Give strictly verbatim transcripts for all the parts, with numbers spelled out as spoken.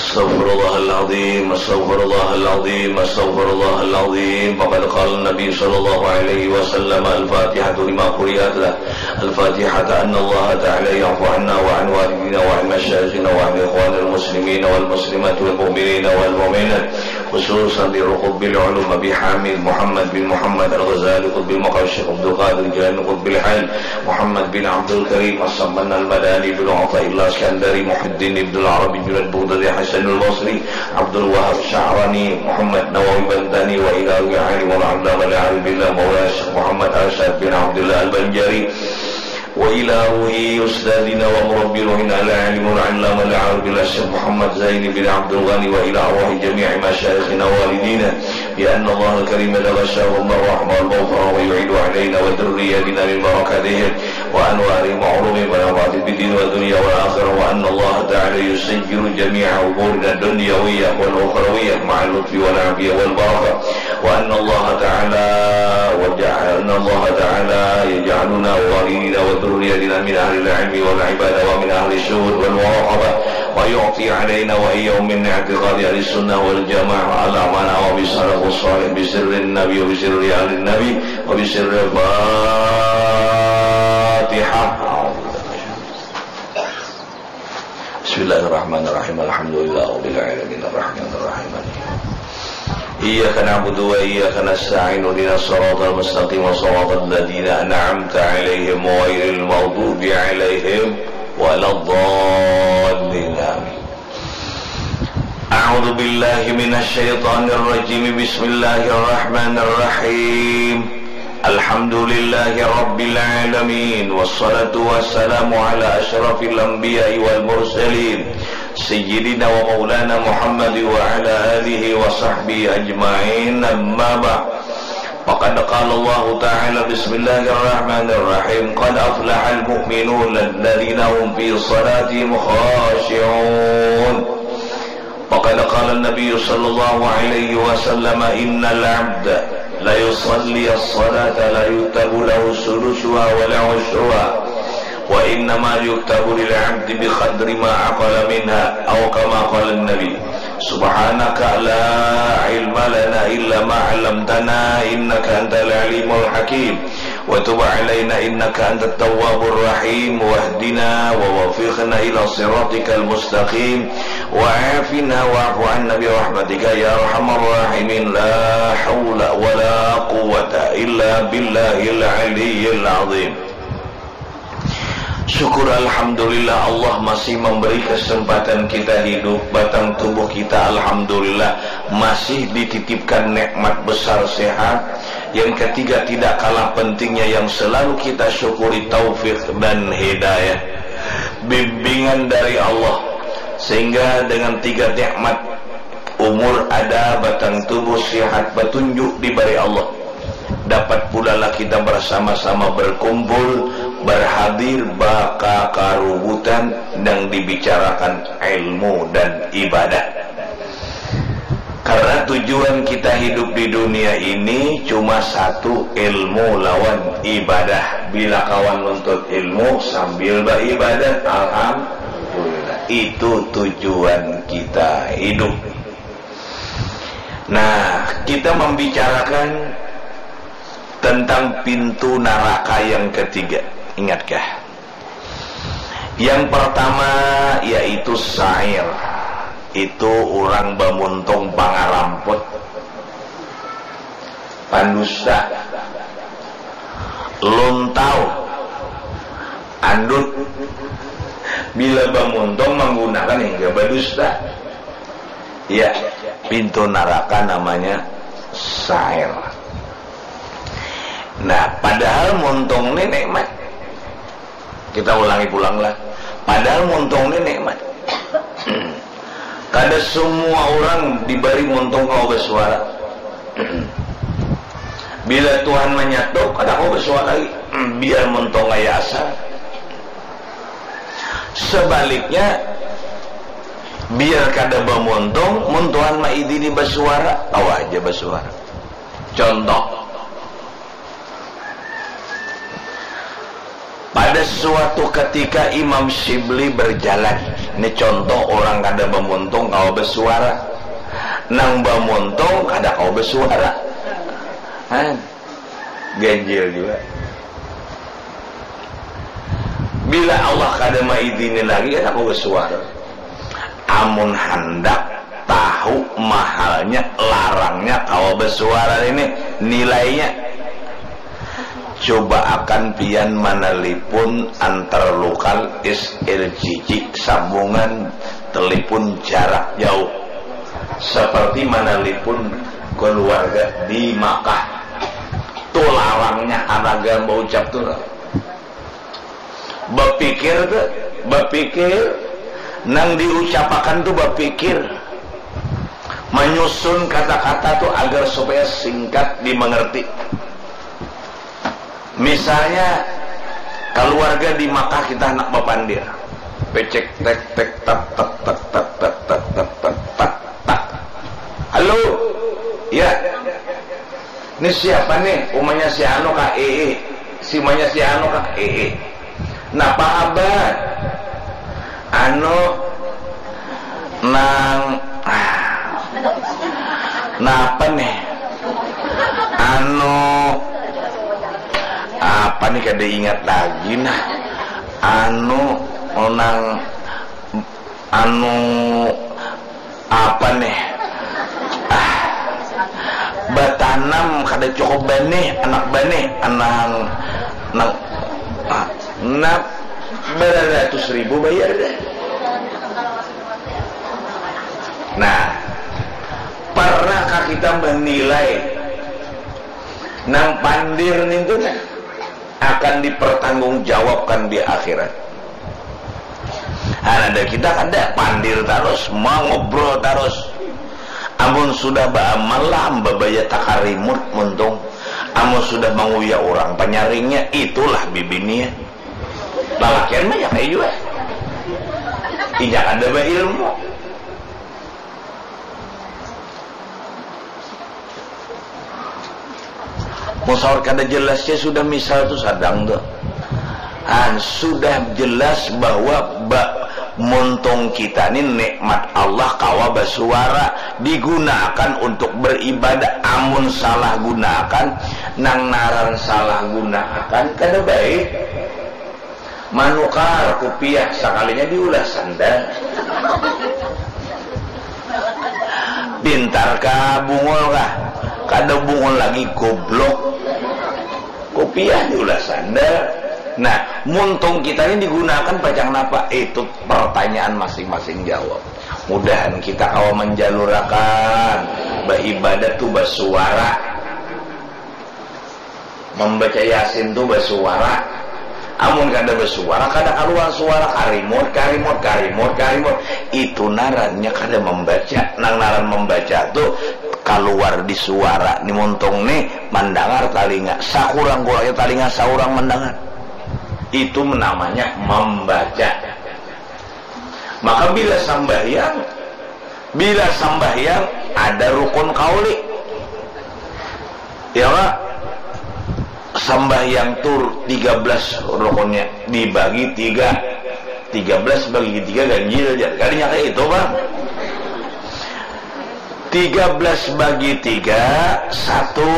Astaghfirullahaladzim, astaghfirullahaladzim, astaghfirullahaladzim. Faqad qala Nabi sallallahu alaihi wasallam, "Al-Fatihatu lima quri'at lah. Al-Fatihata anna Allah Ta'ala ya'fu anna wa an walidina wa an masyayikhina wa an ikhwanil muslimina wal muslimati wal mu'minina wal mu'minat. Khususan di Ruqubbil Ulum Abi Hamid Muhammad bin Muhammad Al-Ghazali Qutbil Maqam Syekh Abdul Qadir Jilani Qutbil Hal Muhammad bin Abdul Karim As-Samman Al-Madani bin Athaillah Iskandari Muhyiddin Ibnul Arabi Junaid Bughdadi Hasanul Basri Abdul Wahab Sya'rani Muhammad Nawawi Bantani wa ila ruhi alim wal allama al-arif billah Maulana Syekh Muhammad Arsyad bin Abdullah Al-Banjari wa ila ruhi ustadzina wa murabbi ruhina al-alim wal allama al-arif billah Syekh Muhammad Zaini bin Abdul Ghani wa ila arwahi jami'i masyayikhina walidina bi anna Allah al-karim taghashahum ar-rahmah wal maghfirah wa yu'idu alaina wa dzurriyyatina min barakatihim wa anwarihim wa ulumihim wa nafa'atihim fid din wa dunya wal akhirah wa anna Allah ta'ala yusajjiru jami'a umurina dunyawiyyah wal ukhrawiyyah ma'al lutfi wal afiyah wal barakah wa anna Allah ta'ala wa ja'alna Allah ta'ala yaj'aluna wa walidina wa dzurriyyatina min ahlil ilmi wal ibadah wa min ahli syuhud wal muraqabah wa yu'ti alaina wa iyyahum min i'tiqadi ahli sunnah wal jamaah ala ma nawa bi salafus salih bi sirrin nabi wa bi sirri ahli nabi wa bi sirri Fatihah. Bismillahirrahmanirrahim. Alhamdulillah rabbil alamin arrahmanirrahim. Iyyaka na'budu wa iyyaka nasta'in ihdinas siratal mustaqim siratal ladzina an'amta 'alaihim ghairil maghdubi 'alaihim waladdallin. Amin. A'udzu billahi minasy syaithanir rajim. Bismillahirrahmanirrahim. Alhamdulillahi rabbil alamin. Wassalatu wassalamu ala asyrafil anbiya'i wal mursalin. Sayyidina wa maulana Muhammad wa ala alihi wa sahbihi ajma'in. Amma ba'd. Faqad qala Allahu ta'ala, bismillahirrahmanirrahim, qad aflahal mu'minun alladzina hum fi salatihim khashi'un. Faqad qala Nabi sallallahu alaihi wasallam, innal abda la yusalli as-salata la yuktabu lahu sudusuha wa la usyruha wa innama yuktabu lil abdi bi qadri ma aqala minha, aw kama qala Nabi. Subhanaka la ilma lana illa ma 'allamtana innaka antal alimul hakim. Wa tub 'alaina innaka antat tawwabur rahim. Wahdina wa wafiqna ila siratikal mustaqim. Wa afina wa'fu 'anna bi rahmatika ya arhamar rahimin. La haula wa la quwwata illa billahil aliyyil azim. Syukur alhamdulillah Allah masih memberi kesempatan kita hidup, batang tubuh kita alhamdulillah masih dititipkan nikmat besar sehat. Yang ketiga tidak kalah pentingnya yang selalu kita syukuri taufik dan hidayah, bimbingan dari Allah. Sehingga dengan tiga nikmat umur ada, batang tubuh sihat, petunjuk diberi Allah. Dapat pula lah kita bersama-sama berkumpul, berhadir, bakakarubutan nang dibicarakan ilmu dan ibadah. Karena tujuan kita hidup di dunia ini cuma satu, ilmu lawan ibadah. Bila kawa nuntut ilmu sambil beribadah, alhamdulillah. Itu tujuan kita hidup. Nah, kita membicarakan tentang pintu naraka yang ketiga. Ingatkah? Yang pertama yaitu sa'ir. Itu urang bamuntung, pangaramput, pandusta, luntau, andut. Bila bamuntung manggunakan hingga badusta. Ya, pintu naraka namanya sa'ir. Nah, padahal muntung ni nikmat. Kita ulangi pulang lah. Padahal muntung ni nikmat. Kada semua orang diberi muntung kawa basuara. Bila Tuhan manyatup, kada kawa basuara lagi. Biar muntung kaya asa. Sebaliknya, biar kada bamuntung, mun Tuhan maidini basuara, kawa haja basuara. Contoh, Ada suatu ketika Imam Syibli berjalan. Ini contoh orang kada bamuntung kawa basuara. Nang bamuntung kada kawa basuara. Hah. Ganjil jua. Bila Allah kada maidini lagi, kada kawa basuara. Amun handak tahu mahalnya, larangnya kawa basuara ini, nilainya. Coba akan pian manalipun antar lokal S L J J, sambungan telepon jarak jauh, seperti manalipun keluarga di Makkah. Tu larangnya haraga baucap tu lah. Bapikir tu, bapikir, nang diucapakan tu bapikir, manyusun kata-kata tu agar supaya singkat dimengerti. Misalnya, keluarga di Makkah kita handak bapandir. Pecek tek tek tak tak tak tak tak tak tak tak tak tak tak. Halo. Ya. Ini siapa nih? Umanya si anu kah? Ee. Si umanya si anu kah? Ee. Napa kabar? Anu, nang, ah, napa nih? Anu, apa nih, kada ingat lagi nah. Anu, nang, anu, apa nih? Ah, batanam kada cukup banih, anak banih, anang, nang, ah, nang baratus ribu bayar deh. Nah, pernahkah kita menilai nang pandir nintu nah akan dipertanggungjawabkan di akhirat? Nah, ada kita kada, pandir tarus, mangobrol tarus. Amun sudah baamal lah, babaya takarimut muntung. Amun sudah manguya orang panyaringnya, itulah bibinian. Lalakian banyak ai jua. Inya kada bailmu. Mun saur kada jelas ja sudah, misal tu sadang tu. Ah, sudah jelas bahwa ba, muntung kita ni nikmat Allah kawa basuara, digunakan untuk beribadah. Amun salah gunakan, nang naran salah gunakan kada baik. Manukar kupiah sakalinya diulah sandal. Pintar kah bungul kah? Kada bungul lagi, goblok. Kupiah diulah sandal. Nah, muntung kita ini digunakan pacang napa? Itu pertanyaan masing-masing jawab. Mudahan kita kawa menjalurakan beribadah tu basuara. Membaca Yasin tu basuara. Amun kada basuara, kada kaluar suara, karimut, karimut, karimut, karimut. Itu narannya kada membaca. Nang naran membaca tu kaluar di suara. Ni muntung ni mandangar talinga. Sakurang-kurangnya talinga saurang mandangar. Itu namanya membaca. Maka bila sambahyang, bila sambahyang ada rukun kauli. Ya, Pak? Sambahyang tu tiga belas rukunnya, dibagi tiga. Tiga belas bagi tiga ganjil aja. Kalinya kayak itu, Pak. Tiga belas bagi tiga, satu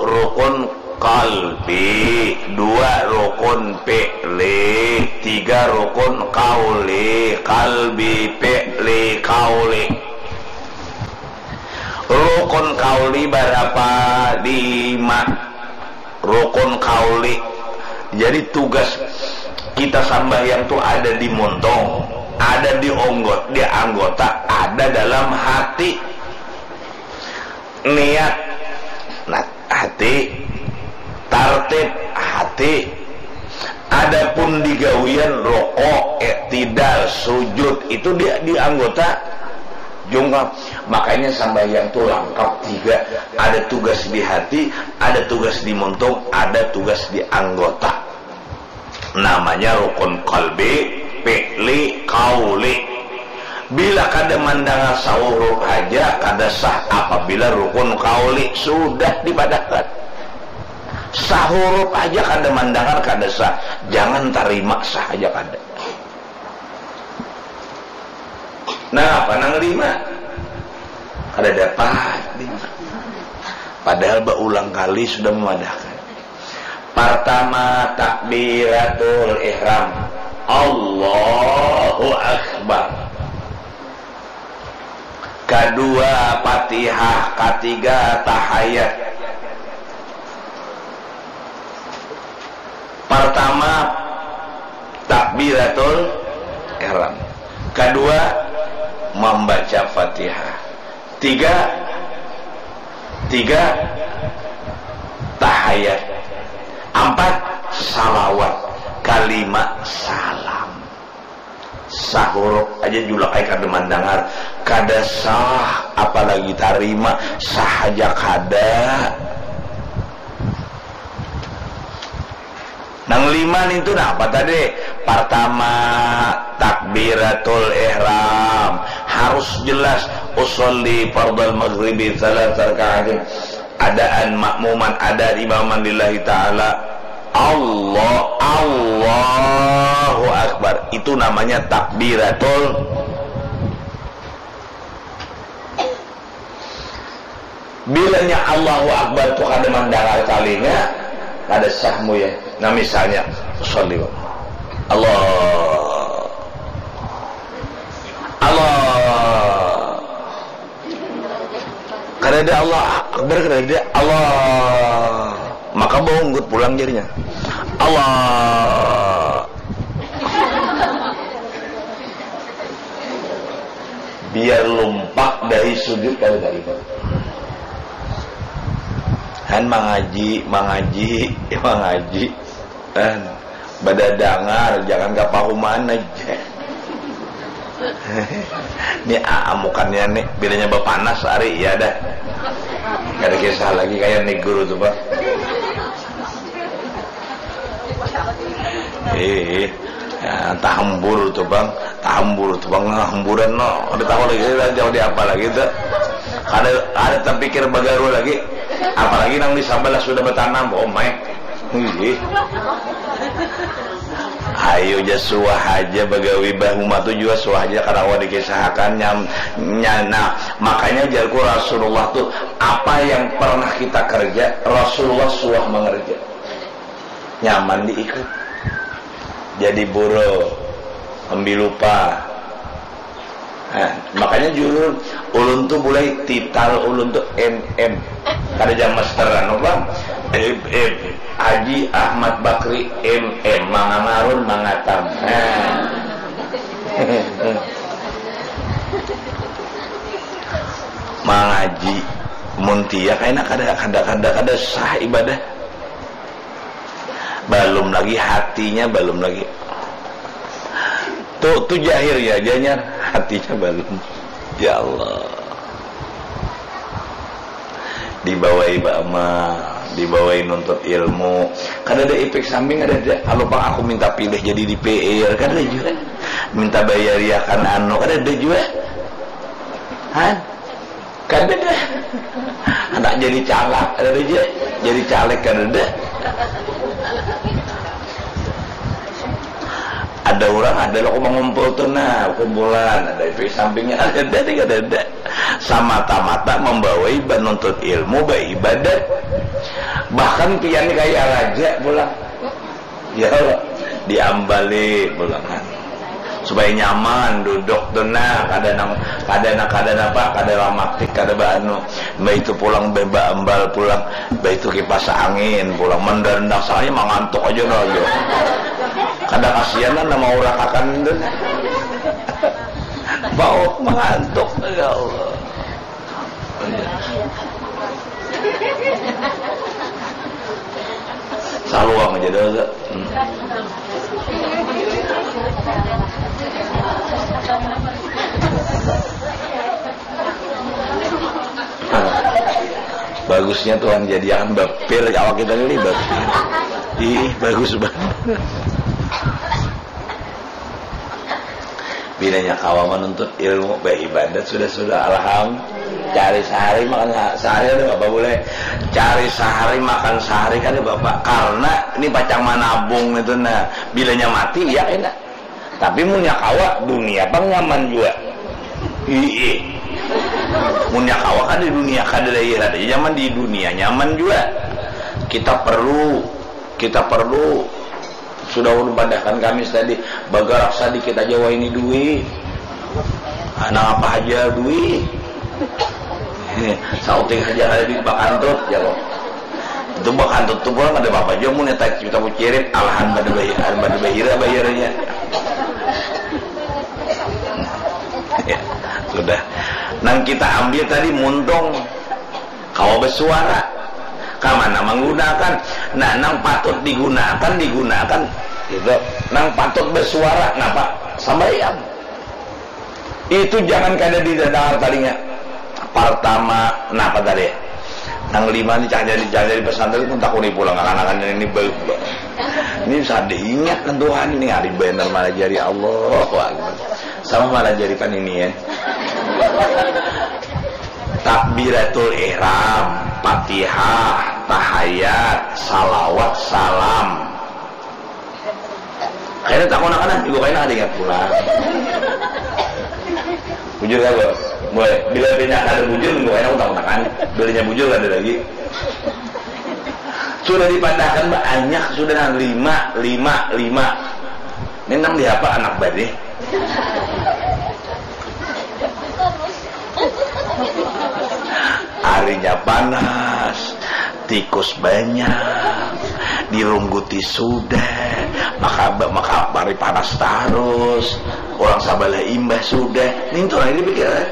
rukun kalbi, dua rukun fi'li, tiga rukun kauli, kalbi, fi'li, kauli. Rukun kauli barapa? Lima. Rukun kauli. Jadi tugas kita sambahyang tu ada di muntung, ada di onggot, di anggota, ada dalam hati. Niat, nah, hati. Tartib, hati. Adapun di gawian, rukuk, iktidal, sujud, itu di, di anggota jungkap. Makanya sambahyang tu langkap tiga. Ada tugas di hati, ada tugas di muntung, ada tugas di anggota. Namanya rukun kalbi, fi'li, kauli. Bila kada mandangar sahuruf haja, kada sah apabila rukun kauli sudah dipadahkan. Sahurup aja kada mandangar, kada sah. Jangan tarima, sah aja kada. Nah, apa nang lima? Kada dapat. Padahal baulang kali sudah memadahkan. Pertama, takbiratul ihram. Allahu Akbar. Kadua, Fatihah. Katiga, tahayat. Pertama, takbiratul ihram. Kadua, membaca Fatihah. Tiga, tiga, tahayat. Ampat, salawat. Kalima, salam. Sahurup aja julak ai kada mandangar, kada sah, apalagi tarima, sah aja kada. Nang lima nintu napa tadi? Pertama, takbiratul ihram. Harus jelas, usolli fardal maghribi salat rakaatin. Adaan makmuman, adaan imaman lillahi ta'ala. Allah, Allahu Akbar. Itu namanya takbiratul. Bilanya Allahu Akbar tu kada mandangar talinga, kada sah mu ya. Nah, misalnya, sholli wa Allah. Allah. Kada ada Allah Akbar, kada ada Allah. Maka baunggut pulang jarinya. Allah. Biar lumpak dari sujud kada tarima. Han mangaji, mangaji, mangaji. Han badadangar, jangan kapahuman aja. Ni aa mukannya ni, bilanya bapanas ari, iya dah. Kada kisah lagi kaya ni guru tu, Pak. Eh, eh. Ya, tahambur tu, Bang. Tahambur tu, Bang. Hamburan, no. Kada tahu lagi, kada jauh di apa lagi tu. Kada, kada tapikir bagaru lagi. Apalagi nang di sabalah sudah batanam, oh my. Ih. Ayo ja suah aja bagawi bahuma tu jua suah aja kada kawa dikisahakan nyam, nya, nah, makanya jarku Rasulullah tu apa yang pernah kita kerja, Rasulullah suah mengerja. Nyaman diikut. Jadi buruh, ambil lupa. Nah, makanya jurun ulun tu mulai tital ulun tu M M. Kada jam master anu bang. M M. Haji Ahmad Bakri M M mangangarun mangatam. Nah. Mangaji mun tia kaina kada kada kada kada sah ibadah. Balum lagi hatinya, balum lagi. Tu, tu jahir ya, janyar. Hatinya balum. Ya Allah. Dibawai baamal, dibawai nuntut ilmu. Kada ada efek samping, kada ada. Kalau bang aku minta pilih jadi D P R, kada ada juga. Minta bayariakan anu, kada ada juga. Hah? Kada dah. Anak jadi calak, ada aja. Jadi caleg, kada dah. Ada orang, ada lo mengumpul tu nah, kumpulan, ada efek sampingnya, ada dah, kada dah. Semata-mata membawai menuntut ilmu, beribadah. Bahkan pian ni kaya raja pulang. Ya, diambali pulangan. Supaya nyaman duduk tu nah, kada nang, kada nang, kada napa, kada ramatik, kada baanu. Mbah itu pulang be-, baambal pulang, mbah itu kipas angin pulang, mendarendak saja mangantuk aja dah aja. Kada kasihan lah nama urakakan tu nah. Bau mangantuk, ya Allah. Saluang aja dah. Hmm. Bagusnya Tuhan jadiakan bapir awak kita ini bapir. Ih, bagus banget. Bilanya kawa menuntut ilmu, baibadat sudah-sudah, alham. Cari sehari makan se-, sehari ada bapak boleh. Cari sehari makan sehari kada bapak. Karena ini pacang manabung itu nah. Bilanya mati, ya kena. Tapi munnya kawa, dunia pang nyaman jua. Iya. Munnya kawa kan di dunia kada ada akhirat aja nyaman, di dunia nyaman jua. Kita perlu, kita perlu. Sudah ulun padahkan Kamis tadi, bagarak sadikit aja wah ini duit. Anak apa aja duit. Sauting aja ada duit bakantut, ya kok. Itu bakantut tuh pulang ada apa aja mun kita kita cirit, alhan pada bayar, pada bayar bayarnya. Ya, sudah. Nang kita ambil tadi muntung. Kawa bersuara. Kamana menggunakan? Nah, nang patut digunakan, digunakan. Gitu. Nang patut bersuara, napa? Sambayang. Itu jangan kada didengar tadinya. Pertama, napa tadi? Nang lima ni cah jadi, cah jadi pesantren pun takuni pulang akan-akan ini baik. Ini sadih ingat kan Tuhan ini hari benar malah jadi Allah. Sama malah jadikan ini ya. Takbiratul ihram, Fatihah, tahayat, salawat, salam. Kayaknya tak kena kena juga kayaknya ada ingat pulang. Bujur ya bos. Boy, bila pindah ada bujur minggu kayaknya aku tak kena kan. Belinya bujur ada lagi. Sudah dipandahkan banyak sudah nah lima lima lima. Ini enam di apa anak badi? Harinya panas, tikus banyak, dirungguti sudah, maka maka mari panas terus, orang sabalah imbah sudah, nintu lagi dipikiran.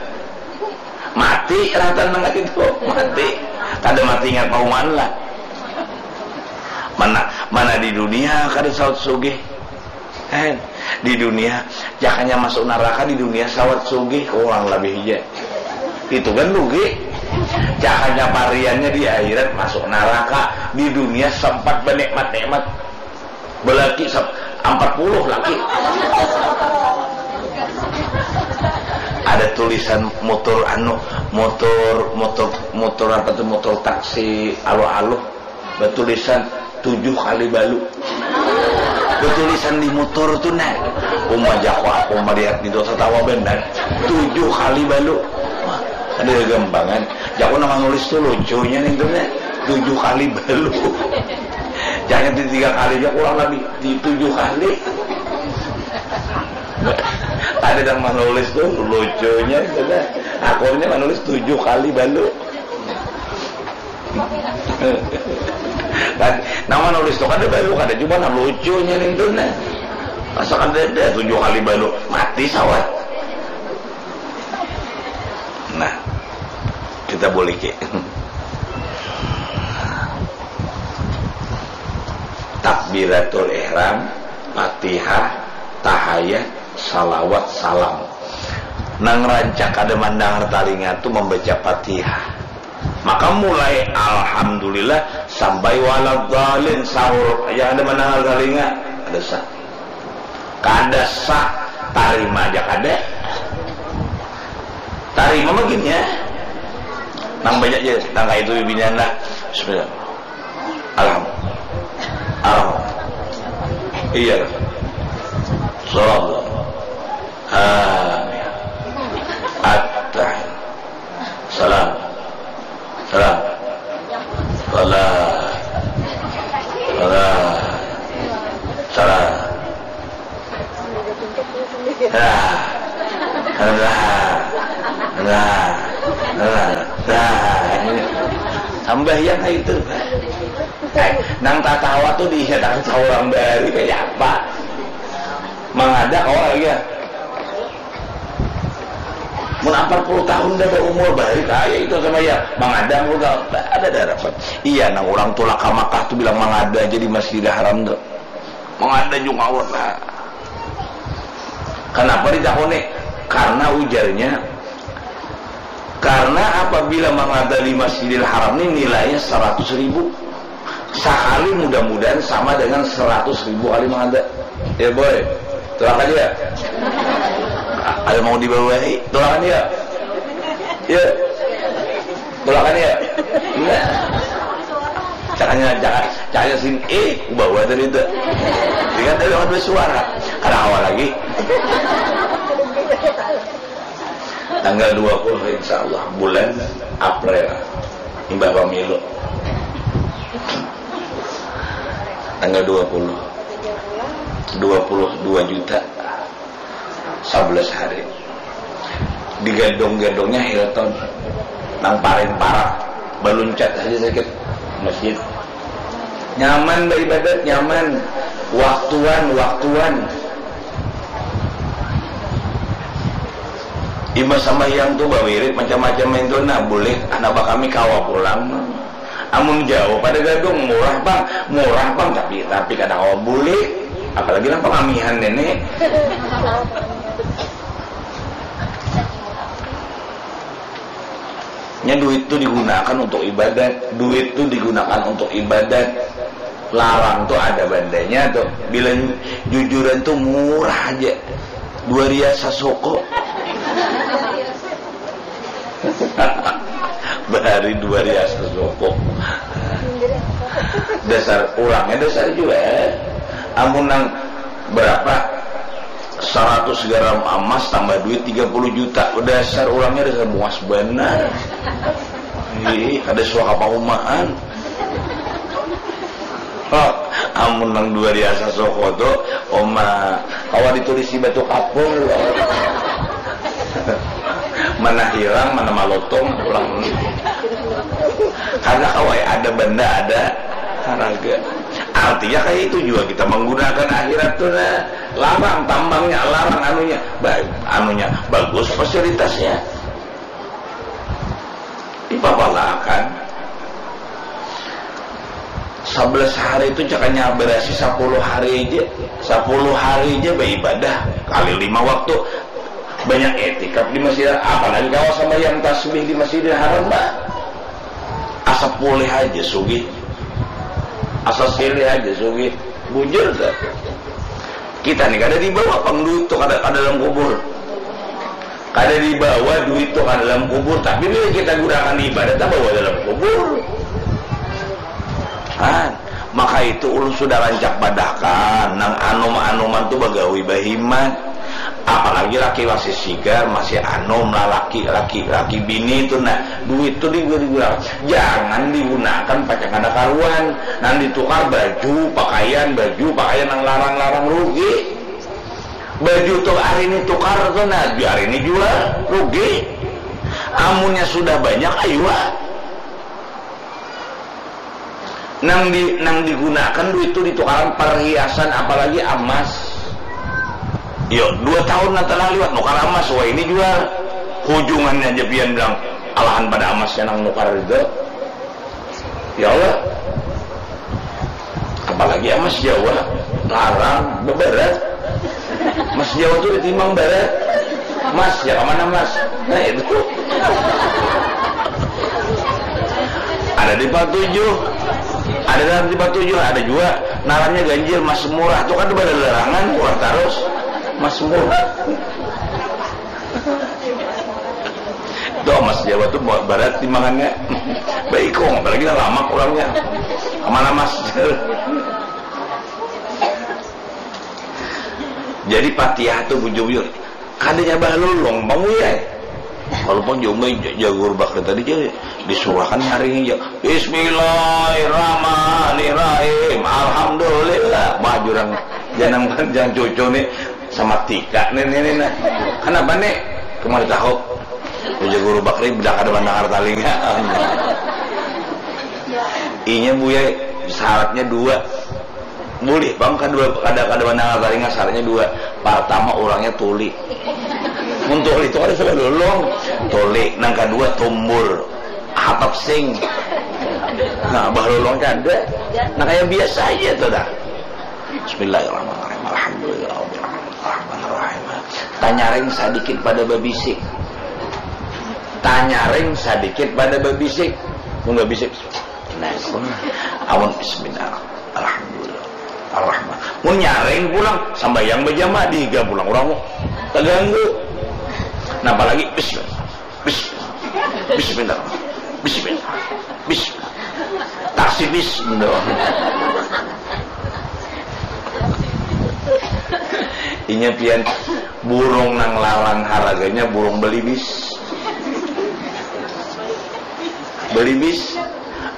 Mati rata nang itu, mati. Kada mati ingat pauman lah. Mana mana di dunia kada saut sugih. Eh, di dunia, jakanya masuk neraka di dunia sawat sugih kurang lebih aja. Itu kan rugi. Jakanya pariannya di akhirat masuk neraka, di dunia sempat bernikmat-nikmat. Belaki empat puluh laki. Ada tulisan motor anu, motor motor motor apa tuh, motor taksi aluh-aluh. Batulisan tujuh kali balu. Batulisan di motor tu nah. Uma jako aku melihat itu tertawa benar. Tujuh kali balu. Ada gampangan. Jako nama nulis tu lucunya nih tu nah. Tujuh kali balu. Jangan di tiga kali aja kurang lebih di tujuh kali. Ada yang menulis tu lucunya itu nah. Akhirnya menulis tujuh kali balu. Kan, nama nulis tu kada balu kada cuma nah lucunya nintu nah. Masa kada ada tujuh kali balu mati sawat. Nah, kita boleh ke takbiratul ihram, Fatihah, tahayat, salawat, salam. Nang rancak kada mandangar talinga tu membaca Fatihah. Maka mulai alhamdulillah sampai waladhalin sahur aja ada mendengar talinga. Ada sah. Kada sah. Tarima aja kada. Tarima mungkin ya. Nang banyak aja nang kayak itu bibinian lah. Bismillah. Alham. Alham. Iya. Salam. Amin. At-tahiyat. Salam. Salam. Salam. Salam. Salam. Nah. Nah. Nah. Nah. Nah. Sambahyang itu. Eh, nang tatawa tu diingat akan saurang baru kayak apa? Mangada kawa lagi ya. Mun ampar puluh tahun dah berumur balik aja itu sama ya mangada puluh tahun ada dah rapat. Iya nang orang tulak ke Makkah tuh bilang mangada aja di Masjidil Haram tuh. Mangada juga awak lah. Kenapa ditakoni? Karena ujarnya karena apabila mangada di Masjidil Haram ini nilainya seratus ribu. Sakali mudah-mudahan sama dengan seratus ribu kali mangada. Ya boy, tolak aja ya. Ada mau dibawahi? Tulakan ya? Ya. Tulakan ya? Enggak. Cakanya, cakanya, cakanya sini, eh, bawa tadi itu. Dengan tadi orang dua suara. Kada awal lagi. Tanggal dua puluh, insya Allah, bulan April. Imbah pemilu. Tanggal dua puluh. Dua puluh dua juta. Sabelas hari. Di gedung-gedungnya Hilton. Nang paling parah. Baluncat saja sakit. Masjid. Nyaman beribadat, nyaman. Waktuan, waktuan. Imbah sambahyang tu bawirid macam-macam itu, nah, boleh anak bakami kawa pulang. Amun jauh pada gadung, murah pang, murah pang, tapi, tapi kada kawa boleh. Apalagi nang pangamihan ini. Nya duit tu digunakan untuk ibadat, duit tu digunakan untuk ibadat. Larang tu ada bandanya tu. Bila jujuran tu murah aja. Dua rial sasuku. Bahari dua rial sasuku. Dasar, urangnya dasar jua. Amun nang berapa? Saratus gram amas tambah duit tiga puluh juta. Dasar urangnya dasar muas banar. Ih, kada suaka paumahan. Oh, amun nang dua rial sasuku tu, oma, kawa ditulisi batu kapur. Mana hilang, mana malotong pulang. Karena kawa ada benda, ada haraga. Artinya kayak itu juga kita menggunakan akhirat tu, nah. Larang tambangnya, larang anunya. Ba-, anunya bagus fasilitasnya. Dipapalakan. Sabelas hari itu cakanya berasi sapuluh hari aja. Sapuluh hari aja beribadah kali lima waktu. Banyak etikaf di masjid, apalagi kawa sambahyang tasbih di Masjidil Haram, bah. Asa pulih aja sugih. Asa silih aja sugih. Bujur dah. Kita ni kada dibawa pang duit tu kada, kada dalam kubur. Kada dibawa duit tu ka dalam kubur, tapi bila kita gunakan ibadah, tabawa dalam kubur. Kan? Maka itu ulun sudah rancak padahkan, nang anum-anuman tu bagawi bahimat. Apalagi laki masih sigar, masih anum, lalaki, laki, laki bini tu, nah, duit tu digu-, digunakan. Jangan digunakan pacang kada karuan. Nang ditukar baju, pakaian, baju, pakaian nang larang-larang, rugi. Baju tu hari ini tukar tu, nah, hari ini jual, rugi. Amunnya sudah banyak, ayu ah. Nang di, nang digunakan duit tu ditukaran perhiasan, apalagi amas. Yo, dua tahun nang telah liwat nukar amas, wah, ini jual. Hujungannya aja pian bilang, alahan pada amasnya nang nukar itu. Ya Allah. Apalagi emas Jawa, larang, beberat. Emas Jawa tuh ditimbang berat. Mas, ya kemana, Mas? Nah, itu. Ada di Patujuh. Ada dalam di Patujuh, ada juga ngarannya ganjil, mas murah. Tuh kan ada larangan, murah terus. Mas murah. Tuh, emas Jawa tuh ba-, berat timbangannya. Baikung, apalagi nang lamak orangnya. Kemana, Mas? Jadi Fatihah tuh bujur-bujur. Kadanya bahalulung, Bang Uyai. Walaupun jumai ja-, jagur bakti tadi, jadi disurahkan nyaring aja. Bismillahirrahmanirrahim. Alhamdulillah. Wah, jurang janang, jangan cucu nih. Sama tika nih, nih, nih, nah. Kenapa nih? Kemari tahu. Ujar guru Bakri, bedak ada mendengar talinga. Inya, Buya, syaratnya dua. Boleh, Bang, kada, kada, kada mendengar talinga, syaratnya dua. Pertama, orangnya tuli. Mun tuli itu kada suka lolong. Tuli. Nang kedua, tumbur. Hatap sing. Nah, bah lolong kada. Nah, kayak biasa aja tuh dah. Bismillahirrahmanirrahim. Alhamdulillahirrahmanirrahim. Tanyaring sadikit pada babisik. Tanyaring sadikit pada babisik. Mun babisik, nah, amun bismillah. Alhamdulillah. Arrahman. Mun nyaring pulang, sambayang bajamaah dihiga pulang urang. Terganggu. Napa lagi? Bis, bis, bismillah, bismillah, bis, taksi bis, gitu. Inya pian burung nang larang harganya burung belibis. Belibis,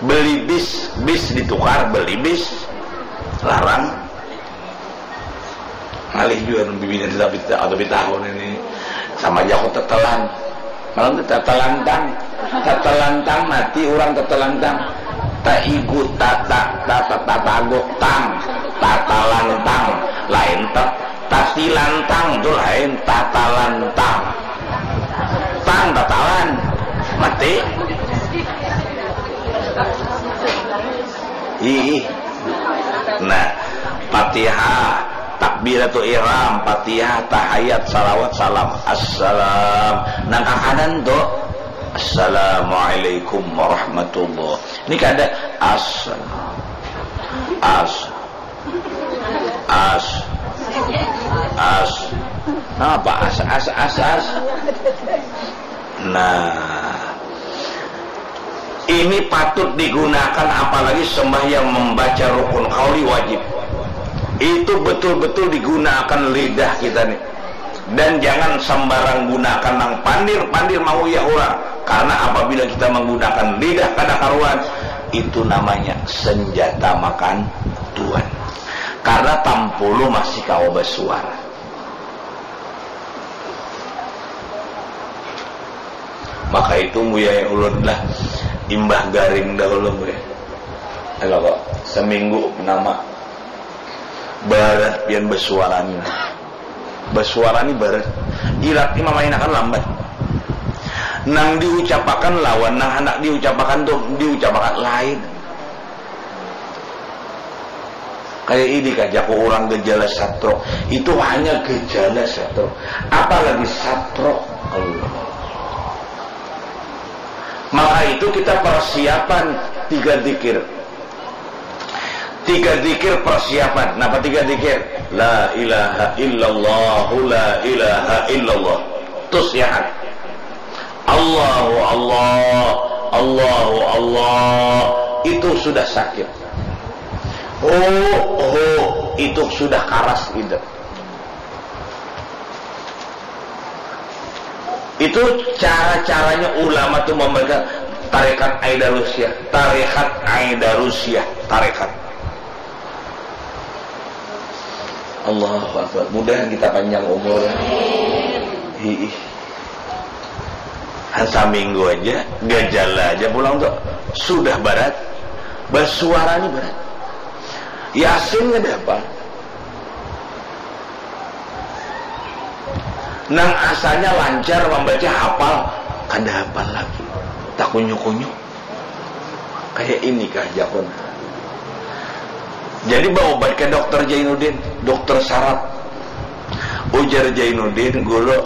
belibis, bis ditukar belibis, larang. Ngalih jua bibinian tapi atau tahun ini sama aja aku tetelan. Malam tu tetelantang, tetelantang mati orang tetelantang. Taigu tata tata tatago tang, tatalantang, lain tet tatilantang tu lain tatalantang. Tang tatalan mati. Ih. Nah, Fatihah, takbiratul ihram, Fatihah, tahayat, salawat, salam. Assalam. Nang kakanan tu, assalamualaikum warahmatullah. Ini kada as as as as. Napa as as as as? Nah, ini patut digunakan apalagi sembahyang membaca rukun qauli wajib. Itu betul-betul digunakan lidah kita nih. Dan jangan sembarang gunakan nang pandir-pandir manguyah orang. Karena apabila kita menggunakan lidah kada karuan, itu namanya senjata makan tuan. Karena tampulu masih kawa basuara. Maka itu muyai ulun lah imbah garing dahulu muyai. Alah kok seminggu nama barat pian basuara ni. Basuara ni barat. Ilat ni mamainakan lambat. Nang diucapakan lawan nang handak diucapakan tu diucapakan lain. Kaya ini kah jaku urang gejala satrok. Itu hanya gejala satrok. Apalagi satrok. Allah. Maka itu kita persiapan tiga zikir. Tiga zikir persiapan. Napa tiga zikir? La ilaha illallah, la ilaha illallah. Terus ya kan? Allahu Allah, Allahu Allah. Itu sudah sakit. Oh, oh, itu sudah karas hidup. Itu cara-caranya ulama tu memberikan tarekat Aidarusyah, tarekat Aidarusyah, tarekat. Allahu Akbar. Mudahan kita panjang umur. Hiih. Han saminggu aja, gejala aja pulang tu sudah barat. Basuara ni barat. Yasin kada apa. Nang asalnya lancar membaca hafal, kada hafal lagi. Takunyu-kunyu. Kayak ini kah jakun. Jadi berobat ke dokter Jainuddin, dokter saraf. Ujar Jainuddin, guru,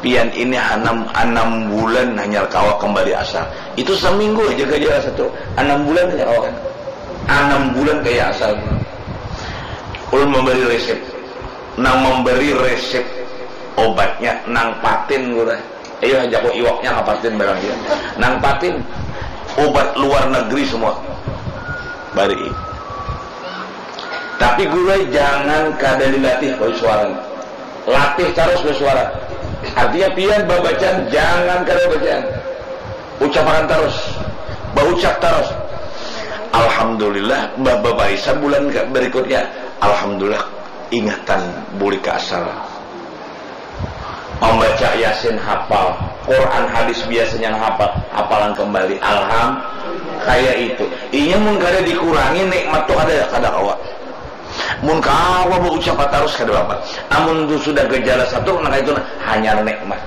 pian ini anam, anam bulan hanya kawa kembali asal. Itu seminggu aja gejala satu. Anam bulan hanya kawa kan. Anam bulan kayak asal. Ulun memberi resep. Nang memberi resep obatnya nang patin guru. Ayo aja kok iwaknya kapatin barang dia. Nang patin obat luar negeri semua. Bari. Tapi guru jangan kada dilatih basuara. Latih terus basuara. Artinya pian babacaan jangan kada bacaan. Ucapakan terus. Baucap terus. Alhamdulillah, babarisan bulan berikutnya. Alhamdulillah, ingatan buli ka asal. Membaca Yasin hafal, Quran hadis biasanya hafal, hafalan kembali. Alham, kayak itu. Inya mun kada dikurangi nikmat tu kada kada kawa. Mun kawa baucap tarus kada apa. Amun tu sudah gejala satu nang itu nah, hanyar nikmat.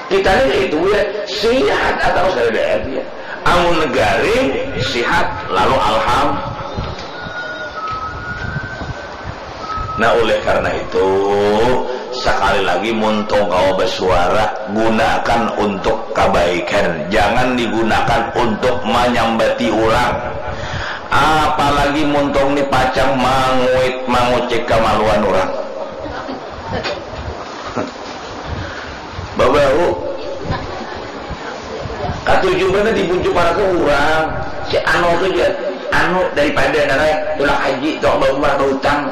Kita ni itu ya sihat atau kada ada ya. Amun garing sihat lalu alham. Nah, oleh karena itu, sekali lagi, muntung kawa basuara, gunakan untuk kebaikan. Jangan digunakan untuk menyambati orang. Apalagi muntung ni pacang manguit, mangucik kemaluan orang. Katuju banar dibujuk para tu urang. Si anu tu ja, anu daripada narai tulak haji, tulak baumrah, bautang.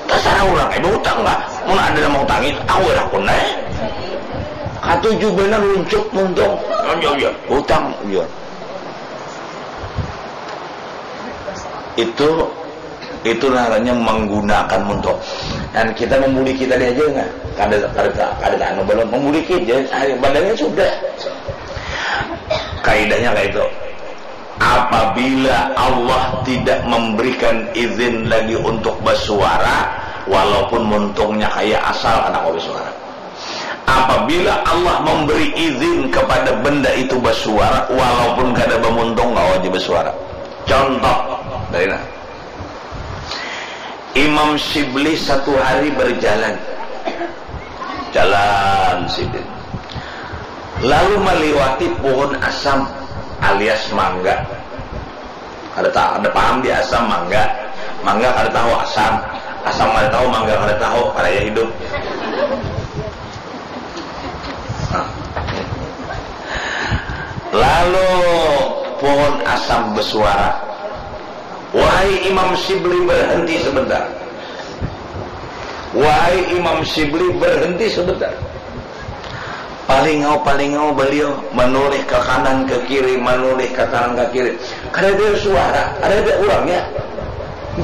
Tasarah urang ai bautang lah. Mun ada nang mautangi, aku lah kun ai. Katuju banar luncup muntung. Anja, anja, bautang, jar. Itu, itu ngarannya manggunakan muntung. Dan kita mamuliki tadi aja nah. Kada, kada, kada anu balum mamuliki ja, badannya sudah. Kaidahnya kaitu. Apabila Allah tidak memberikan izin lagi untuk basuara, walaupun muntungnya kaya asal, kada kawa basuara. Apabila Allah memberi izin kepada benda itu basuara, walaupun kada bamuntung, kawa ja basuara. Contoh, dari nah. Imam Syibli satu hari berjalan. Jalan sidin. Lalu maliwati puhun asam alias mangga. Kada ta-, kada paham di asam mangga. Mangga kada tahu asam. Asam kada tahu, mangga kada tahu, kadaya hidup. Nah. Lalu puhun asam basuara, "Wahai Imam Syibli, berhenti sebentar. Wahai Imam Syibli, berhenti sebentar." Palingau-palingau baliau, manulih ka kanan ka kiri, manulih ka kanan ka kiri. Kadada suara, kadada urangnya.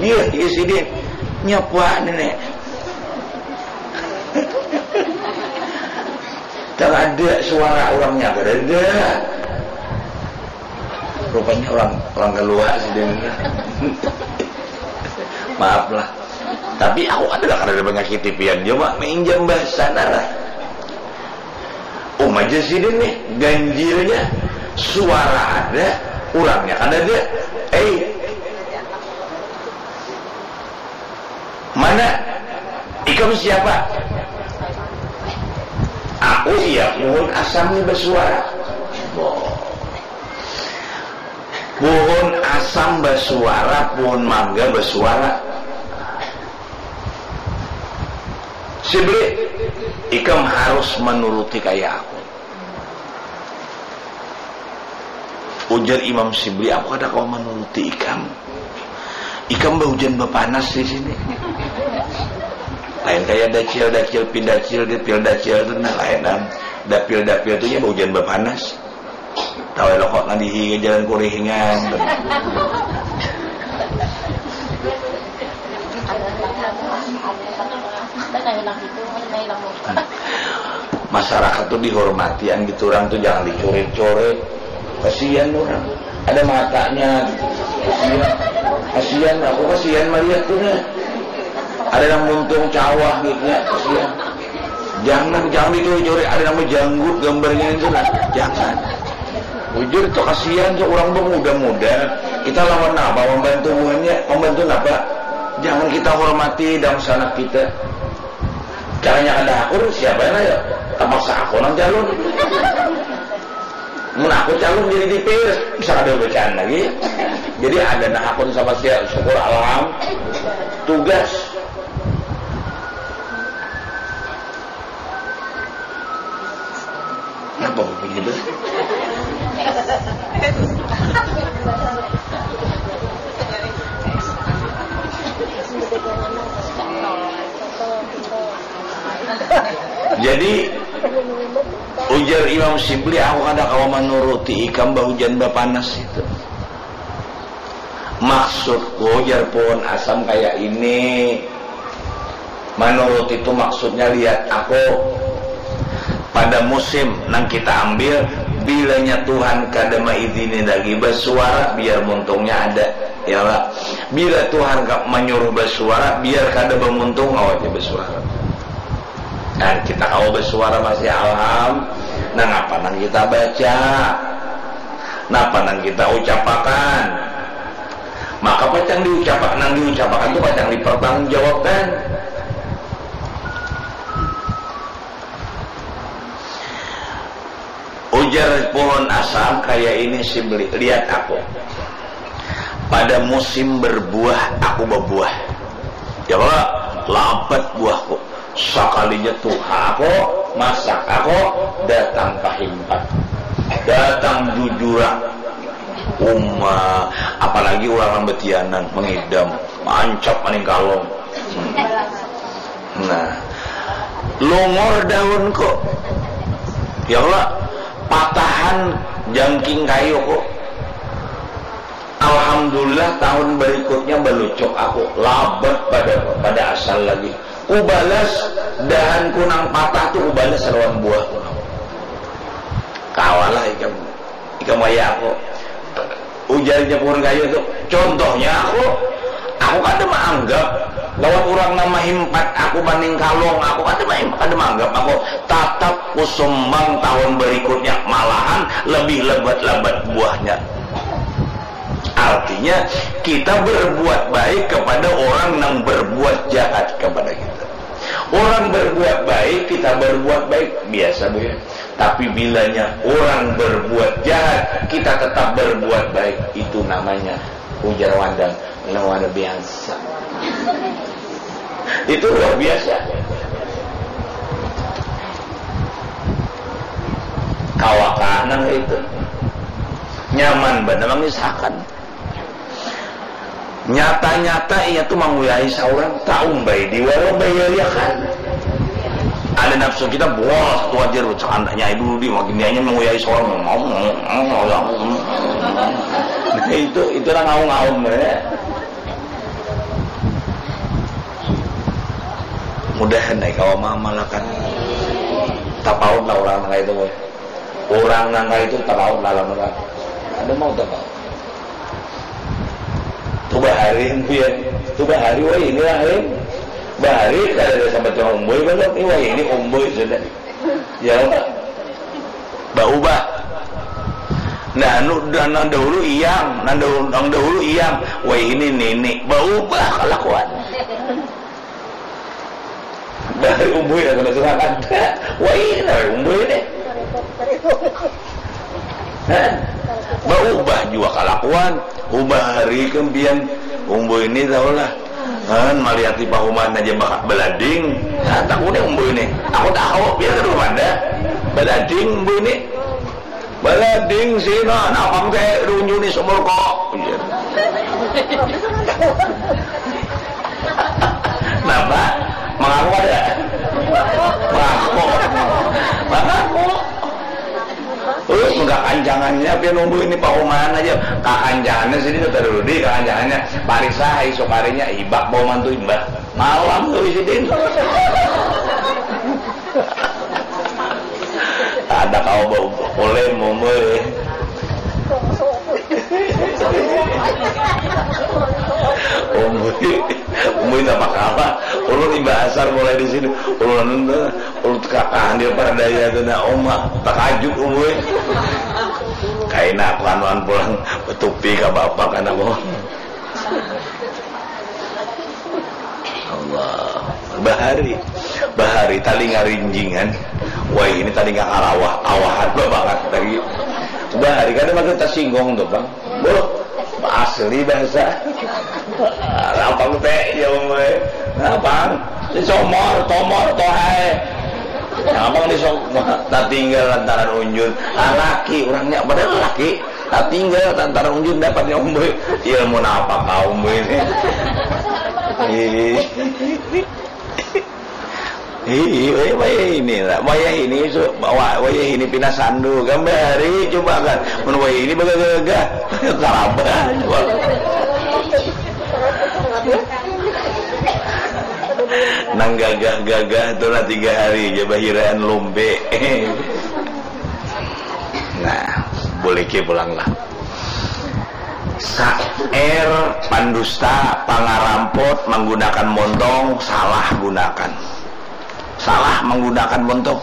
Dia, dia sidin. Nyapa ni, Nek? Kadada suara urangnya, kadada. Rupanya urang, urang kaluar sidin. Maaf lah. Tapi aku kada, kada ada manyakiti pian jua, Mak. Mainjam bahasa nah lah. Uma ja sidin nih, ganjilnya suara ada, urangnya kada ada. Eh, mana? Ikam siapa? Aku iya puhun asam nih basuara. Boh. Puhun asam basuara, puhun mangga basuara. Sibli, ikam harus manuruti kaya aku. Ujar Imam Sibli, aku kada kawa manuruti ikam. Ikam bahujan bapanas di sini. Lain kaya dacil, dacil, pindacil, dipil dacil tu nah, lain am. Dapil, dapil tu nya bahujan bapanas. Tahu elok kok ngadihi ke jalan Kurihingan. Masyarakat tu dihormati, an gitu urang tu jangan dicurit-curit. Kasihan urang. Ada matanya gitu. Kasihan. Kasihan, aku kasihan malihat tu nah. Ada nang muntung cawah gitu ya, kasihan. Jangan, jangan dicuri-curi. Ada nama janggut gambarnya itu nah. Jangan. Bujur itu kasihan tu urang bamuda-muda. Kita lawan apa? Membantu buhannya, membantu apa? Jangan kita hormati dangsanak kita. Caranya kada akur, siapa yang ayo? Terpaksa aku nang calon. Mun aku calon jadi D P R, bisa kada bacaan lagi. Jadi ada nah akun sama sia, syukur alham. Tugas. Kenapa aku punya itu? Jadi, ujar Imam Sibli, aku kada kawa manuruti ikam bahujan bapanas itu. Maksudku, jar puhun asam kaya ini. Manuruti tu maksudnya, lihat aku. Pada musim nang kita ambil, bilanya Tuhan kada maizini lagi basuara, biar muntungnya ada, ya lah. Bila Tuhan ka-, manyuruh basuara, biar kada bamuntung, kawa ja basuara. Nah, kita kawa basuara masih alham. Nang apa nang kita baca? Napa nang kita ucapakan? Maka pacang diucapakan, nang diucapakan tu pacang dipertanggungjawabkan. Ujar puhun asam kaya ini, Sibli, lihat aku. Pada musim berbuah, aku babuah. Ya kalo? Labat buahku. Sakalinya tuha aku, Masak, aku datang pahimpat, datang jujurak. Uma, apalagi urang betianan, mengidam, mancap maning kalung. Hmm. Nah, longor daun kok. Ya Allah, patahan jangking kayu kok. Alhamdulillah, tahun berikutnya balucuk aku, labat pada pada asal lagi. Kubalas dahanku nang patah tu, kubalas lawan buahku nang. Kawalah ikam, ikam wayah aku. Ujarnya pohon kayu tu, contohnya aku, aku kada maanggap lawan urang nang mahimpat aku maning kalung, aku kada maanggap aku, tatap kusumbang tahun berikutnya, malahan lebih lebat-lebat buahnya. Artinya, kita berbuat baik kepada orang yang berbuat jahat kepada kita. Orang berbuat baik, kita berbuat baik, biasa, Bu, ya. Tapi bilanya orang berbuat jahat, kita tetap berbuat baik, itu namanya, ujar Wandang, luar biasa. Itu luar biasa. Kawakah nang itu. Nyaman banar mangisahakan. Nyata-nyata inya tu manguyahi saurang, taumbai diwalo bayariakan. Ada nafsu kita, wah, tu ajar, cakandaknya dulu di, makin dianya manguyahi saurang. Nah, itu, itu nang ngaum-ngaum, ya. Mudahan ai kawa maamalakan. Tapaut lah urang nang kaitu, boy. Urang nang kaitu tapaut lah lamun urang. Kada mau tapaut. Tu bahari, pian. Tu bahari, wah, ini lah, eh. Bahari kada ada sambat cuma umbui, balum. Ini, wah, ini umbui sudah. Ya, Pak. Baubah. Nah, anu, nang dahulu iyang, nang dahulu, nang dahulu iyang. Wah, ini nini. Baubah kalakuan. Bahari umbui dah kada suah kada. Wah, ini nah umbui ni. Hah? Baubah jua kalakuan. Ubah hari kempian umbui ni tahulah. Han, malihat di pahuman aja bakat balading. Nah, takuni umbui ni. Aku tahu, biar kada ada. Balading umbui ni. Balading sini, nah, napang teh runjuni sumur kok. Iya. Napa? Mangaku kada? Mangaku. Mangaku. Terus, mun kakancangannya, pian nunggu ini pahuman aja. Kakancangannya sini, kita dulu di kakancangannya. Parisa, isuk harinya, ibak pahuman tu, imbah. Malam tu, sidin. Ada kau bau boleh, boleh. Umbui, umbui tak apa. Ulun imbah asar mulai di sini. Ulun, ulun kakahan dia pada daya tu, nah, oma, takajut, umbui. Kaina aku anuan pulang, betupi ka bapak kan aku. Allah. Bahari. Bahari talinga rinjingan. Wah, ini talinga karawah, awahan banget lagi. Bahari kada makin tersinggung tuh, Bang. Buh, asli bahasa. Lapang teh, ya, Bang. Lapang. Di somor, tomor, tohai. Lapang di somor. Nah, tinggal lantaran unjun. Ah, laki, orangnya padahal laki. Nah, tinggal lantaran unjun dapatnya umbui. Ilmu napa kau umbui ini? Ih. Ih, wayah, wayah ini lah. Wayah ini su-, wa-, wayah ini pina sandu. Gambar hari coba kan. Mun wayah ini bagagah-gagah. Tarabah coba. Nang gagah-gagah tu lah tiga hari aja bahiraan lumpe. Nah, buliki pulang lah. Saer, pandusta, pangaramput, manggunakan montong, salah gunakan. Salah manggunakan montong.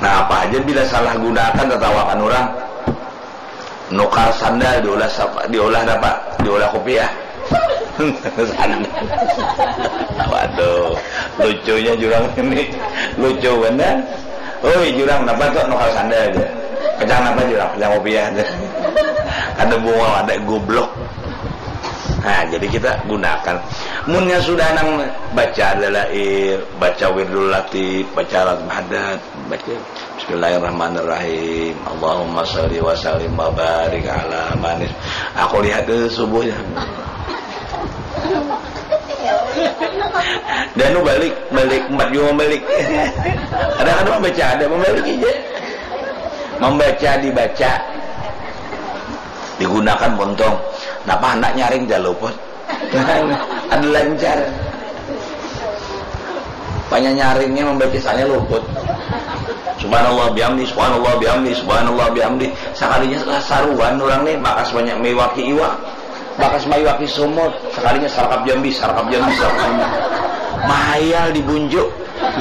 Nah, apa aja bila salah gunakan, tatawakan orang. Nukar sandal diulah sapa? Diulah napa? Diulah kupiah. Sandal. Waduh, lucunya jurang ini. Lucu benar. Oi, jurang, napa tu nukar sandal aja? Kacang napa jurang? Kacang kupiah aja. Kada bunga, ada goblok. Nah, jadi kita gunakan. Munnya sudah nang baca Dalail, baca Wirdul Latif, baca Alat Mahadat, baca Bismillahirrahmanirrahim. Allahumma shalli wa sallim wa barik ala manis. Aku lihat itu subuhnya. Dan nu balik, balik, empat jua membalik. Ada kan membaca, ada membalik aja. Membaca, dibaca. Digunakan pontong. Napa hendak nyaring jaluput? Ada lancar. Panya nyaringnya membaca, soalnya luput. Subhanallah bihamdi, subhanallah bihamdi, subhanallah bihamdi. Sakalinya saruan orang nih, bakas banyak mewaki iwak. Bakas maiwaki sumur, sakalinya sarkap jambi, sarkap jambi, sarkap jambi. Mahayal dibunjuk.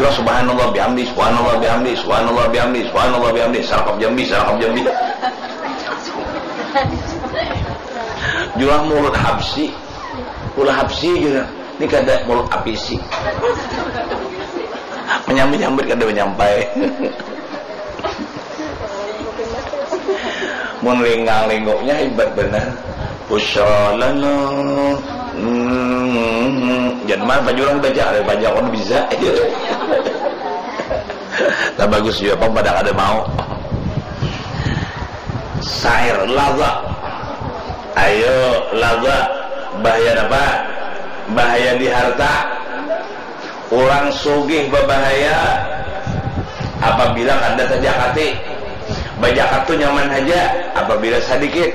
Jurah subhanallah bihamdi, subhanallah bihamdi, subhanallah bihamdi, subhanallah bihamdi, sarkap jambi, sarkap jambi. Jurah mulut habsi, ulah habsi jurah. Ini kada mulut apisi. Menyambit-nyambit kada menyampai. Mun linggang-lingguknya hebat benar. Usholana. Hmm. Jangan mana baju orang baca, ada banyak orang bisa. Nah, bagus juga, pang pada kada mau. Syair, laza. Ayo, laza. Bahaya apa? Bahaya di harta. Urang sugih babahaya apabila kada tajakati. Bajakat tu nyaman haja apabila sadikit.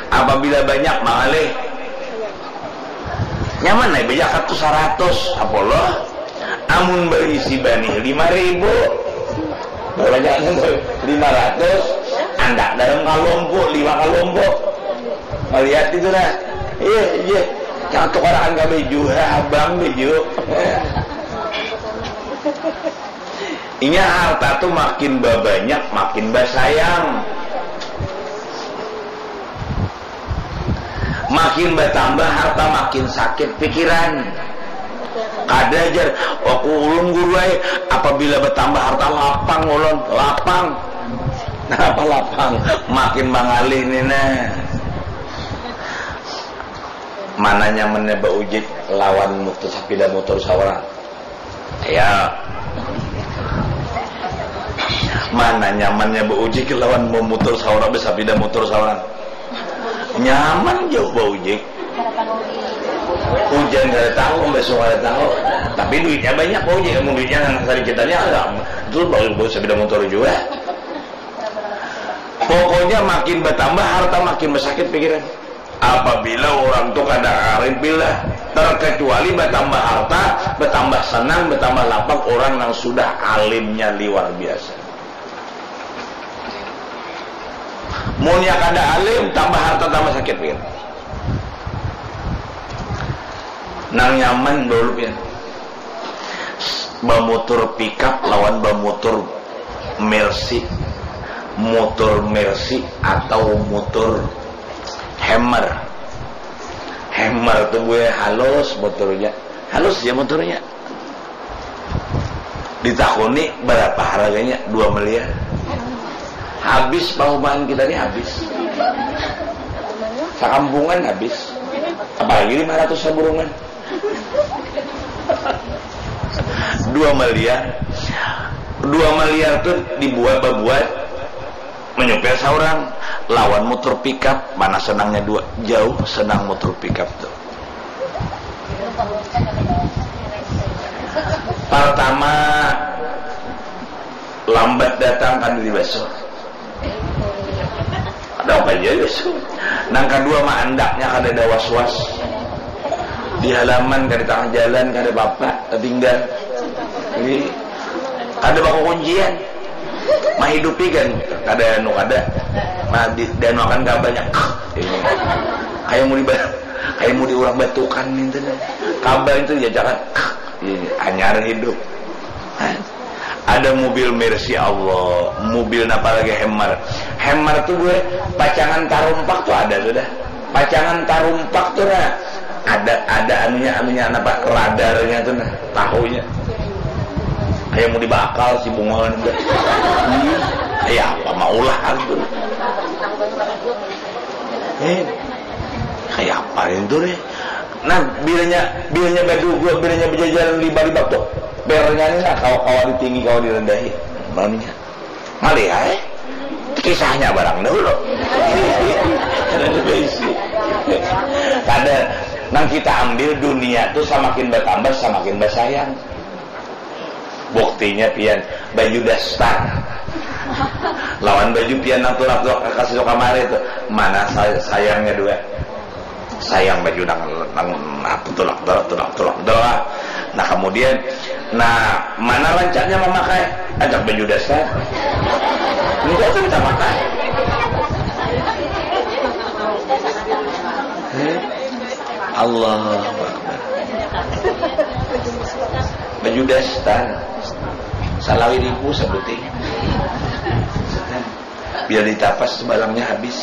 Apabila banyak, mangalih. Nyaman ai bajakat tu saratus, apa lo? Amun baisi banih lima ribu, babanyak lima ratus, andak dalam kalompo, lima kalompo. Malihat itu nah. Iya, iya. Jangan tukarakan ka baju, ha, abang baju. Inya harta tu makin babanyak, makin basayang. Makin batambah harta, makin sakit pikiran. Kada jar, aku ulun guru ai, apabila batambah harta lapang ulun, lapang. Napa lapang? Makin mangalih ni nah. Mana nyamannya baujik lawan mutur sapida mutur saurang? Ya. Mana nyamannya baujik lawan bamutur saurang, basapida mutur saurang? Nyaman jauh baujik. Hujan kada tahu, besok kada tahu. Tapi duitnya banyak baujik, mun duitnya nang sadikitannya ada. Itu bagus, bagus sapida mutur juga. Pokoknya makin batambah harta, makin basakit pikiran. Apabila urang tu kada arif billah, terkecuali batambah harta, batambah senang, batambah lapang urang nang sudah alimnya liwar biasa. Munnya kada alim, tambah harta tambah sakit pian. Nang nyaman dulu pian. Bamutur pikap lawan bamutur Mercy, mutur Mercy atau mutur Hammer. Hammer tu buya halus muturnya, halus ya muturnya. Ditakuni berapa harganya, dua miliar. Habis pahumaan kita ni, habis. Sakampungan habis. Apalagi lima ratus saburungan. Dua miliar. Dua miliar tu dibuat, babuat, menyupir saurang lawan mutur pikap, mana senangnya dua? Jauh senang mutur pikap tu. Pertama, lambat datang kada dibasuh. Ada apa aja, Yus? Nang kadua, maandaknya kada ada was-was. Di halaman, kada tangah jalan, kada apa-apa, tatinggal. Jadi, kada bakukuncian. Mahidupi kan, kada anu, kada. Nah, di, dianuakan kabarnya. Ini. Kayak mau diba-, kayak mau diurang batukan itu. Kabar itu diajakan. Ini, anyar hidup. Ada mobil Mercy, Allah, mobil napa lagi, Hammer. Hammer tu gue, pacangan tarumpak tu ada sudah. Pacangan tarumpak tu nah, ada, ada anunya, anunya napa, radarnya tu nah, tahunya. Kayak mau dibakal si bungawan tu. Hmm, kayak apa maulah tu. Eh. Kayak apa itu nih? Nah, bilanya bilanya berdua, bilanya berjajaran riba-riba tuh. Pernya ini nah, kawa-kawa ditinggi, kawa direndahi. Malamnya. Malih, eh? Kisahnya barang dahulu. Kada, nang kita ambil dunia tuh samakin bertambah, samakin bersayang. Buktinya pian baju daster lawan baju pian nang tulak-tulak kasih kamari itu, mana say- sayangnya dua? Sayang baju nang nang apa tulak tulak tulak tulak doa. Nah, kemudian, nah, mana rancaknya memakai? Ajak baju daster. Enggak tuh kita pakai. Eh? Allahu Akbar. Baju daster. Salawi ribu sebuting. Biar ditapas sebalangnya habis.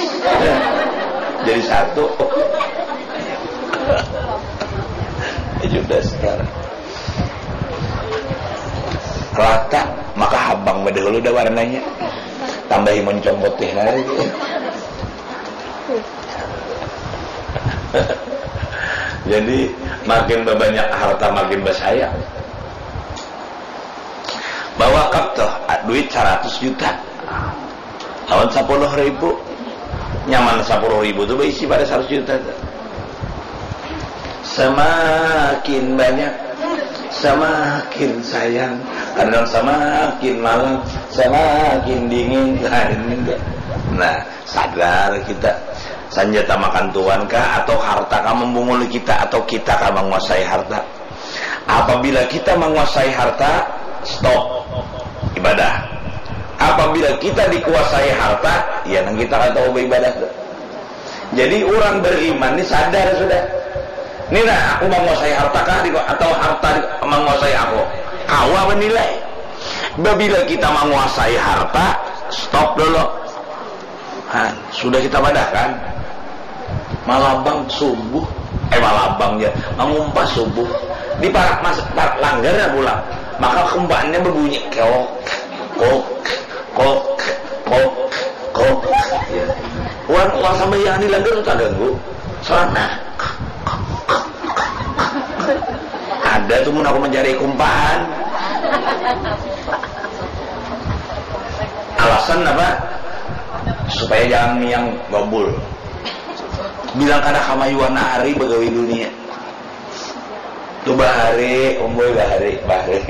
Jadi satu. Baju daster. Rata, maka habang pada hulu dah warnanya. Tambahi moncong putih lagi. Jadi, makin banyak harta, makin bersayang. Bawa kap tuh, duit seratus juta lawan sepuluh ribu. Nyaman sepuluh ribu tuh berisi pada seratus juta tuh. Semakin banyak, semakin sayang. Kadang semakin malam, semakin dingin. Nah, ini enggak. Nah, sadar kita. Senjata makan tuan kah, atau harta kah membunguli kita, atau kita kah menguasai harta? Apabila kita menguasai harta, stop ibadah. Apabila kita dikuasai harta, ya nang kita kada tahu beribadah tu. Jadi, orang beriman ni sadar sudah. Ni nah, aku menguasai harta kah di- atau harta di- menguasai aku? Kawa menilai. Babila kita menguasai harta, stop dulu. Han, sudah kita padahkan. Malabang subuh, eh, malabang ja, mangumpas subuh. Di parak mas, parak langgar ya pulang. Maka kumpaannya berbunyi kok, kok, kok, kok, kok. Ya. Orang, orang sambahyang di langgar tu taganggu. Soalnya ada tu mun aku mencari kumpaan. Alasan apa? Supaya jangan miang gobul. Bilang kada kamayuan hari begawi dunia. Tu bahari, umboy bahari, bahari.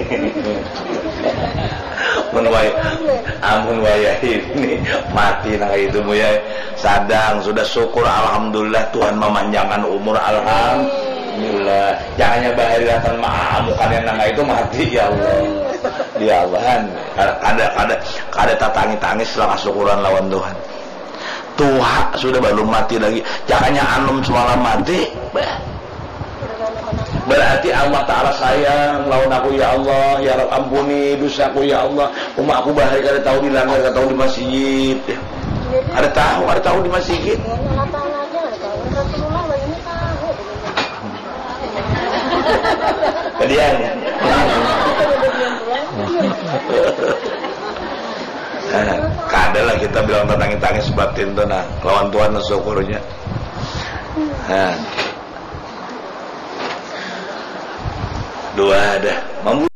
Mun way, amun wayah ini mati nang itu, Buya. Sadang sudah syukur, alhamdulillah, Tuhan memanjangkan umur, alhamdulillah. Jangannya bahari datang maamukan yang nang itu mati, ya Allah. Ya Allah, han. Kada, kada, kada, kada tatangis-tangis lah kasukuran lawan Tuhan. Tuha sudah balum mati lagi. Jakanya anum semalam mati. Bah. Berarti Allah Ta'ala sayang lawan aku, ya Allah, ya Rabb, ampuni dosaku, ya Allah. Uma aku bahari kada tahu di langgar, kada tahu di masjid. Kada tahu, kada tahu di masjid. Kadian. Nah, kada lah kita bilang tatangis-tangis batin tu nah, lawan Tuhan syukurnya. Nah. Dua dah. Mambu-